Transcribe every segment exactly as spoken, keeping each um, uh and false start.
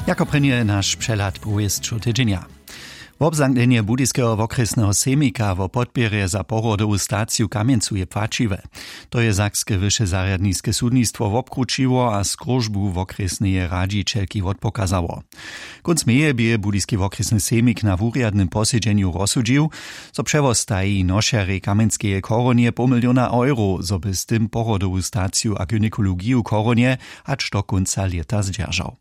Jako prěnje naš přehlad powěsćow tydźenja. Wobzamknjenje budyskeho wokrjesneho sejmika wo podpěrje za pohrodowu staciju w kamjencu je płaćiwe. To je sakske wyše zarjadniske sudnistwo wobkrućiło a skróžbu wokrjesneje radźićelki wotpokazało. Kónc meje bě budyski wokrjesny sejmik na wurjadnym posedźenju rozsudźił, zo přewostaji nošerjej kamjenskeje chorunje poł miliona euro, zo by z tym pohrodowu staciju a gynekologiju w chorunje hač do kónca lěta zdźeržał.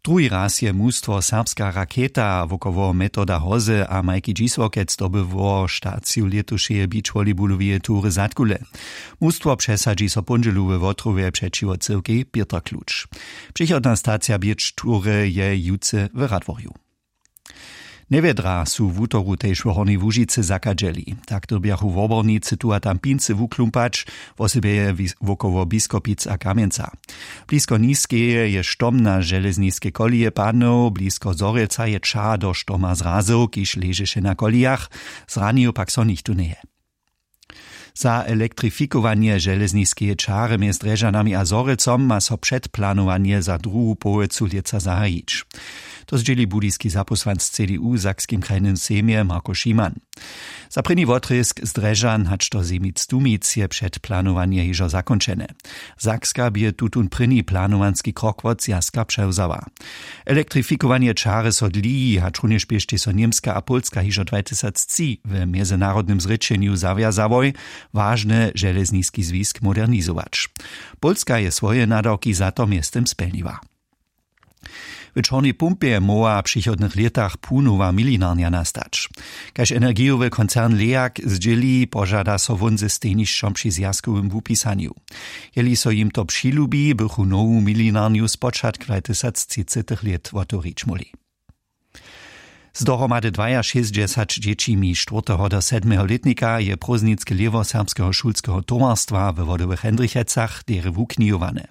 Druhi raz je mustwo serbska raketa wokoło metoda hoze a majki dźisłokec dobyło staciju lětušeje beach volleyballoweje tury zadkule. Mustwo přesadźi so póndźelu we wotrowje přećiwo cyłkej pětrkluč. Přichodna stacija beach tury je jutře w radworju. Njewjedra su wutoru tež w hornjej łužicy zachadźeli. Tak dyrbjachu wobornicy tu a tam pincy wuklumpać, wosebje wokoło biskopic a kamjenca. Blisko niskeje je štom na železniskej koleje padnył, blisko zhorjelca je ča do štoma zrazył kiž ležeše na kolejach. Zranił pak so nichtó njeje. Za elektrifikowanje železniskeje čary mjez drježanami a zhorjelcom ma so předplanowanje za druhu połojcu lětsa zahajić. To zdźěli budyski zapósłanc cdu w sakskim krajnym sejmje marko šiman. Za prěni wotrězk z drježan hač do zemic tumic je předplanowanje hižo zakónčene. Sakska bě tutón prěni planowanski krok wot zwjazka přewzała. Elektrifikowanje čary so dliji hač runjež běštej so němska a pólska hižo dwatysactři w mjezynarodnym zrěčenju zawjazałoj, wažny železniski zwisk modernizować. Pólska je swoje nadawki za to mjeztym spjelniła. W čornej pumpje móhła w přichodnych lětach punowa milinarnja nastać. Kaž energijowy koncern leak zdźěli požada so wón ze stejnišćom při zwjazkowym wupisanju. Jeli so jim to přilubi bychu nowu milinarnju spočatk dwatysactřicetych lět wotewrić móhli. Z dohromady dwajašěsćdźesać dźěćimi štwórteho do sedmeho lětnika je prózdninske lěhwo serbskeho šulskeho towarstwa we wodowych hendrichecach derje wuknihowane.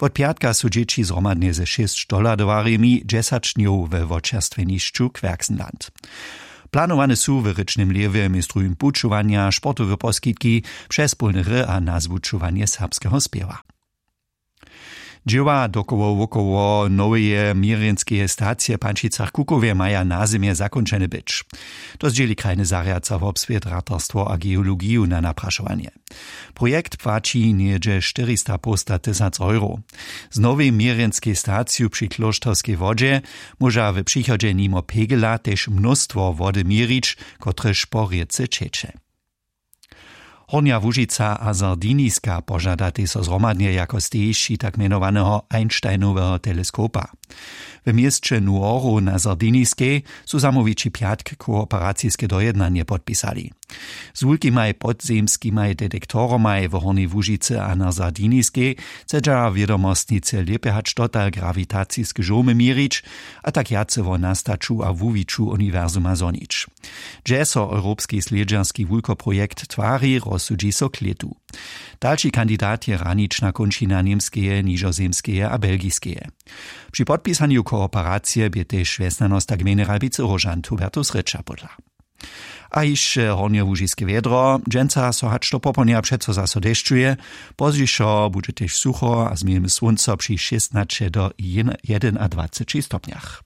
Wot pjatka su dźěći zhromadnje ze šěsć dohladowarjemi dźesać dnjow we wočerstwjenišću kwerksenland. Planowane su w rěčnym lěhwje mjez druhim pućowanja sportowe poskitki, přespólne hry a nazwučowanje serbskeho spěwa. Dźěła dokoło wokoło noweje měrjenskeje stacije w pančicach kukowje maja nazymje zakónčene być. To zdźěli krajny zarjad za wobswět, ratarstwo a geologiju na naprašowanje. Projekt płaći něhdźe štyrista połsta tysac euro. Z nowej měrjenskej staciju při klóšterskej wodźe móža w přichodźe nimo pegela tež mnóstwo wody měrić, kotrež po rěce ćeče. Hornja łužica a sardiniska požadatej so zhromadnje jako stejišći tak mjenowaneho einsteinoweho teleskopa. W měsće nuoru na sardiniskej su zamołwići pjatk kooperaciske dojednanje podpisali. Z wulkimaj podzemskimaj detektoromaj w hornjej łužicy a na sardiniskej chcedźa wědomostnicy lěpje hač dotal grawitaciske žołmy měrić, a tak wjace wo nastaću a wuwiću uniwersuma zhonić. Hdźe so europski slědźerski wulkoprojekt twari, rozsudźi so klětu. Dalši kandidat je hranična kónčina němskeje, nižozemskeje a belgiskeje. Při podpisanju kooperacije bě tež wjesnjanosta gmejny ralbicy róžant hubertus rěča pódla. A hišće hornjołužiske wjedro. Dźensa so hač do popołdnja přeco zaso dešćuje. Pozdźišo budźe tež sucho a z měłym słónco při šěstnaće do jedynadwaceći stopnjach.